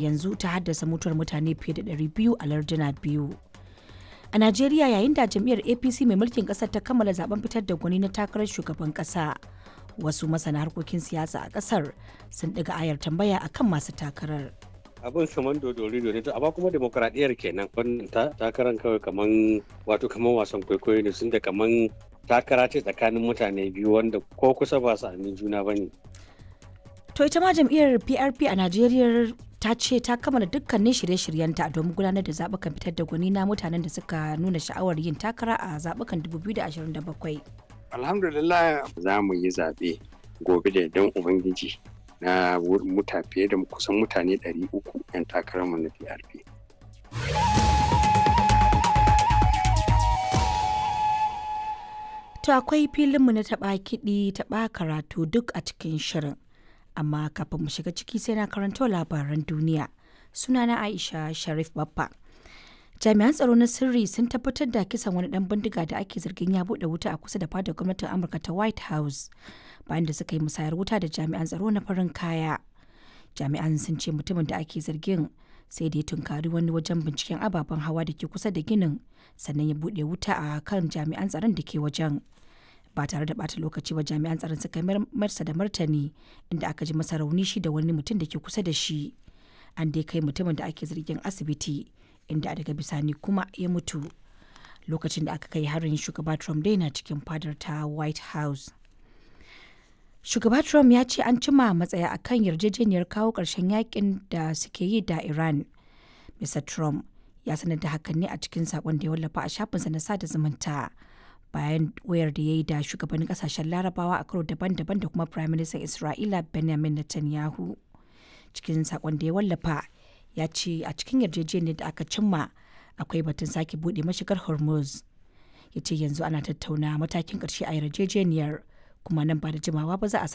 Yanzu ta haddasa mutuwar mutane fiye da 200 a larduna biyu. A Najeriya, yayin da jam'iyyar APC mai mulkin kasar ta kammala zaben fitar da gwani na takarar shugaban kasa, wasu masana harkokin siyasa a kasar sun ɗiga ayar tambaya akan masu takarar. Abin kaman dodori ne to, amma kuma demokradiyyar kenan. Wannan takaran kawai kaman, wato kaman wasan kwaikwayo ne, sun da kaman takara ce tsakanin mutane biyu wanda ko kusa ba su amin juna bane. To ita ma jam'iyyar PRP a Najeriya ta ce ta kammala dukkanin shirye-shiryenta domin gudanar da zaɓukan fitar da gwani na mutanen da suka nuna sha'awar yin takara a zaɓukan 2027. Alhamdulillah, za mu yi zaɓe gobe da yardan Ubangiji na muta fiye da kusan mutane 300 'yan takararmu na PRP. To akwai filinmu na taɓa kiɗi taɓa karatu duk a cikin shirin. Amma kafin mu shiga ciki, sai na karanto labaran duniya. Sunana Aisha Sharif Baffa. Jami'an tsaro na sirri sun tabbatar da kisan wani dan bindiga da ake zargin ya bude wuta a kusa da fadar gwamnatin Amurka ta White House, bayan da suka yi musayar wuta da jami'an tsaro na farin kaya. Jami'an sun ce mutumin da ake zargin sai da ya tunkari wani wajen binciken ababen hawa da ke kusa da ginin, sannan ya bude wuta a kan jami'an tsaron da ke wajen. Ba tare da bata lokaci ba jami'an tsaron suka marsa da martani, inda aka ji masa rauni shi da wani mutum da ke kusa da shi. An dai kai mutumin da ake zargin asibiti, inda daga bisani kuma ya mutu. Lokacin da aka kai harin, shugaba Trump dai na cikin fadar ta White House. Shugaba Trump ya ce an cima matsaya akan yarjejeniyar kawo ƙarshen yakin da suke yi da Iran. Mr. Trump ya sanar da hakan ne a cikin saƙon da ya wallafa a shafinsa na sada zumunta, bayan wayar da ya yi da shugabannin kasashen Larabawa a karo daban-daban da kuma Prime Minister Isra'ila Benjamin Netanyahu. Cikin sakon da ya wallafa, ya ce a cikin yarjejeniyar da aka cimma akwai batun sake buɗe mashigar Hormuz. Ya ce yanzu ana tattauna matakin ƙarshe a yarjejeniyar, kuma nan ba da jimawa ba za a